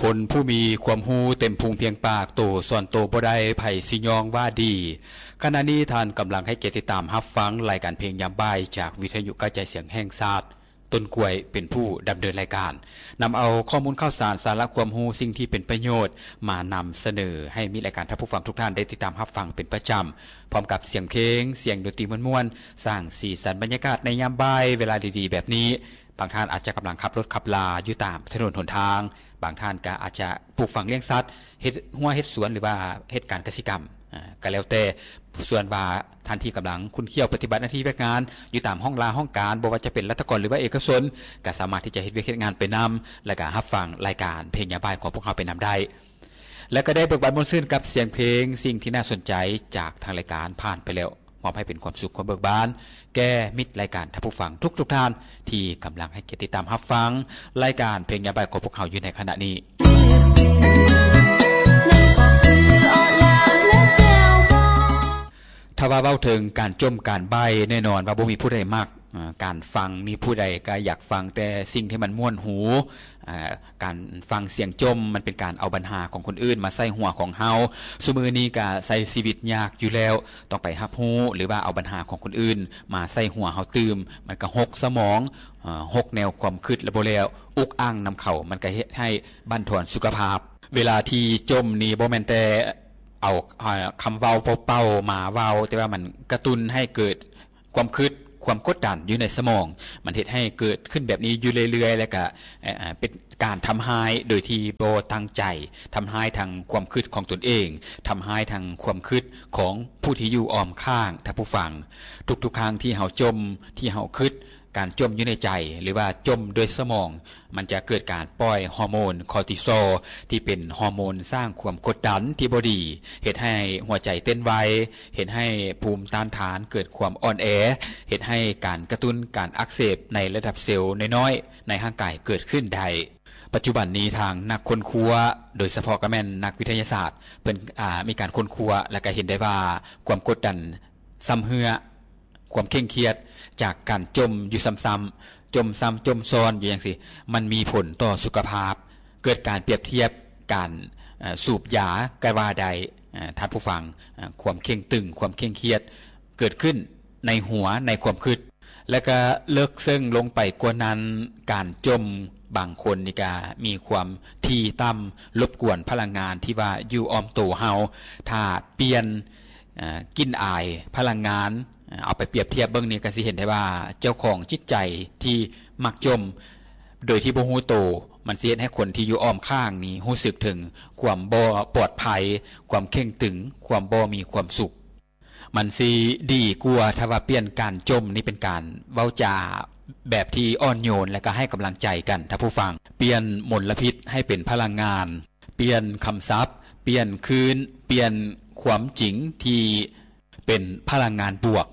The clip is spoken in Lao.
ຄົນຜູ້ມີຄວາມຮູ້ເຕັມພຸງພຽງປາກ, ໂຕສອນໂຕບໍ່ໄດ້, ໃຜຊິຍ້ອງວ່າດີ. ຂະນະນີ້ທ່ານກຳລັງໃຫ້ກຽດຕິດຕາມຮັບຟັງລາຍການເພງຍາມບ່າຍຈາກວິທະຍຸກະຈາຍສຽງແຫ່ງຊາດ. ຕົ້ນກ້ວຍເປັນຜູ້ດຳເນີນລາຍການ, ນຳເອົາຂໍ້ມູນຂ່າວສານ, ສາລະຄວາມຮູ້, ສິ່ງທີ່ເປັນປະໂຫຍດມານຳສະເໜີໃຫ້ມິດລາຍການທ່ານຜູ້ຟັງທຸກທ່ານໄດ້ຕິດຕາມຮັບຟັງເປັນປະຈຳ, ພ້ອມກັບສຽງເພງ, ສຽງດົນຕີມ່ວນໆ, ສ້າງສີສັນບັນຍາກາດໃນຍາມບ່າຍເວລາດີໆແບບນີ້. ບາງທ່ານອາດຈະກຳລັງຂັບລົດຂັບລາຢູ່ຕາມຖະໜົນຫົນທາງ, ບາງທ່ານກໍອາດຈະປູກຝັງລ້ຽງສັດ, ເຮັດຮົ້ວເຮັດສວນ ຫຼືວ່າເຮັດການກະສິກຳ, ອາ ກໍແລ້ວແຕ່. ສ່ວນວ່າທ່ານທີ່ກຳລັງຂຸ້ນຂ້ຽວປະຕິບັດໜ້າທີ່ວຽກງານຢູ່ຕາມຫ້ອງລາຫ້ອງການ, ບໍ່ວ່າຈະເປັນລັດຖະກອນ ຫຼືວ່າເອກະຊົນ, ກໍສາມາດທີ່ຈະເຮັດວຽກເຮັດງານໄປນຳ ແລະ ກໍຮັບຟັງລາຍການເພງຍາມບ່າຍຂອງພວກເຮົາໄປນຳໄດ້. ແລະ ກໍໄດ້ເບີກບານມ່ວນຊື່ນກັບສຽງເພງ, ສິ່ງທີ່ໜ້າສົນໃຈຈາກທາງລາຍການຜ່ານໄປແລ້ວ, ມອບໃຫ້ເປັນຄວາມສຸກຄວາມເບີກບານແກ່ມິດລາຍການທ່ານຜູ້ຟັງທຸກໆທ່ານ ທີ່ກຳລັງໃຫ້ກຽດຕິດຕາມຮັບຟັງລາຍການເພງຍາມບ່າຍຂອງພວກເຮົາຢູ່ໃນຂະນະນີ້. ຖ້າວ່າເວົ້າເຖິງການຈົ່ມການໃບ້, ແນ່ນອນວ່າບໍ່ມີຜູ້ໃດມັກ. ອາ ການຟັງນີ້ຜູ້ໃດກໍຢາກຟັງແຕ່ສິ່ງທີ່ມັນມ່ວນຫູ. ອາ ການຟັງສຽງຈົ່ມມັນເປັນການເອົາບັນຫາຂອງຄົນອື່ນມາໃສ່ຫົວຂອງເຮົາ. ຊຸມື້ນີ້ກໍໃຊ້ຊີວິດຍາກຢູ່ແລ້ວ, ຕ້ອງໄປຮັບຮູ້ ຫຼືວ່າເອົາບັນຫາຂອງຄົນອື່ນມາໃສ່ຫົວເຮົາຕື່ມ, ມັນກໍຫົກສະໝອງ, ອາ ຫົກແນວຄວາມຄິດແລ້ວບໍ່ແລ້ວ, ອຸກອັ່ງນຳເຂົາ, ມັນກໍເຮັດໃຫ້ບັ້ນທອນສຸຂະພາບ. ເວລາທີ່ຈົ່ມນີ້ບໍ່ແມ່ນແຕ່ເອົາ ອາ ຄຳເວົ້າເປົ່າໆມາເວົ້າ, ແຕ່ວ່າມັນກະຕຸ້ນໃຫ້ເກີດ ຄວາມຄິດ, ຄວາມກົດດັນຢູ່ໃນສະໝອງ, ມັນເຮັດໃຫ້ເກີດຂຶ້ນແບບນີ້ຢູ່ເລື້ອຍໆ ແລ້ວກະ ເອີ ເປັນການທຳຮ້າຍໂດຍທີ່ບໍ່ຕັ້ງໃຈ, ທຳຮ້າຍທັງຄວາມຄິດຂອງຕົນເອງ, ທຳຮ້າຍທັງຄວາມຄິດຂອງຜູ້ທີ່ຢູ່ອ້ອມຂ້າງທ່ານຜູ້ຟັງ. ທຸກໆຄັ້ງທີ່ເຮົາຈົ່ມ, ທີ່ເຮົາຄິດ, ການຈົ່ມຢູ່ໃນໃຈ ຫຼືວ່າຈົ່ມດ້ວຍສະໝອງ, ມັນຈະເກີດການປ່ອຍຮໍໂມນຄໍຕີຊໍ ທີ່ເປັນຮໍໂມນສ້າງຄວາມກົດດັນທີ່ບໍ່ດີ, ເຮັດໃຫ້ຫົວໃຈເຕັ້ນໄວ, ເຮັດໃຫ້ພູມຕ້ານທານເກີດຄວາມອ່ອນແອ, ເຮັດໃຫ້ການກະຕຸ້ນການອັກເສບໃນລະດັບເຊວນ້ອຍໆໃນຮ່າງກາຍເກີດຂຶ້ນໄດ້. ປັດຈຸບັນນີ້ທາງນັກຄົ້ນຄວ້າ, ໂດຍສະເພາະກໍແມ່ນນັກວິທະຍາສາດ, ເພິ່ນ ອາ ມີການຄົ້ນຄວ້າ ແລະ ກໍເຫັນໄດ້ວ່າຄວາມກົດດັນຊຳເຮື້ອ, ຄວາມເຄັ່ງຄຽດຈາກການຈົ່ມຢູ່ຊ້ຳໆ, ຈົ່ມຊ້ຳຈົ່ມຊ້ອນຢູ່ຈັ່ງຊີ້, ມັນມີຜົນຕໍ່ສຸຂະພາບ. ເກີດການປຽບທຽບການ ເອີ ສູບຢາກໍວ່າໄດ້, ເອີ ທ່ານຜູ້ຟັງ, ເອີ ຄວາມເຄັ່ງຕຶງ, ຄວາມເຄັ່ງຄຽດເກີດຂຶ້ນໃນຫົວ, ໃນຄວາມຄິດ. ແລະ ກະເລິກເຊິ່ງລົງໄປກວ່ານັ້ນ, ການຈົ່ມບາງຄົນນີ້ກະມີຄວາມຖີ່ຕ່ຳ, ລົບກວນພະລັງງານທີ່ວ່າຢູ່ອ້ອມໂຕເຮົາ. ຖ້າປ່ຽນ ເອີ ກິ່ນອາຍພະລັງງານ, ເອົາໄປປຽບທຽບເບິ່ງນີ້ ກໍຊິເຫັນໄດ້ວ່າເຈົ້າຂອງຈິດໃຈທີ່ມັກຈົ່ມໂດຍທີ່ບໍ່ຮູ້ໂຕ, ມັນຊິເຮັດໃຫ້ຄົນທີ່ຢູ່ອ້ອມຂ້າງນີ້ຮູ້ສຶກເຖິງຄວາມບໍ່ປອດໄພ, ຄວາມເຄັ່ງຕຶງ, ຄວາມບໍ່ມີຄວາມສຸກ. ມັນຊິດີກວ່າຖ້າວ່າປ່ຽນການຈົ່ມນີ້ເປັນການເວົ້າຈາແບບທີ່ອ່ອນໂຍນ ແລະ ກໍໃຫ້ກຳລັງໃຈກັນ, ທ່ານຜູ້ຟັງ. ປ່ຽນມົນລະພິດໃຫ້ເປັນພະລັງງານ. ປ່ຽນຄຳສັບ, ປ່ຽນຄືນ, ປ່ຽນຄວາມຈິງທີ່ເປັນພະລັງງານບວກ.